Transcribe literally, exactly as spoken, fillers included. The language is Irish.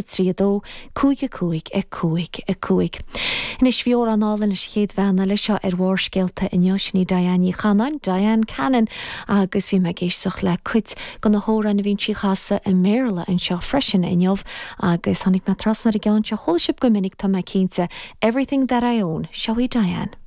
trí a dó cúig a cúig a cúig a cúig. Anois bhí amhrán álainn leis an chéad bhean eile seo ar Bharrscéalta inniu sin í Diane Ní Chanáin, Diane Cannon agus bhí mé ag éisteacht le cuid de na hamhráin a bhíonn sí a chasadh i mBéarla anseo freisin inniu agus tháinig mé trasna ar an gceann seo chuala sibh go minic tá mé cinnte Everything that I own, seo í Diane.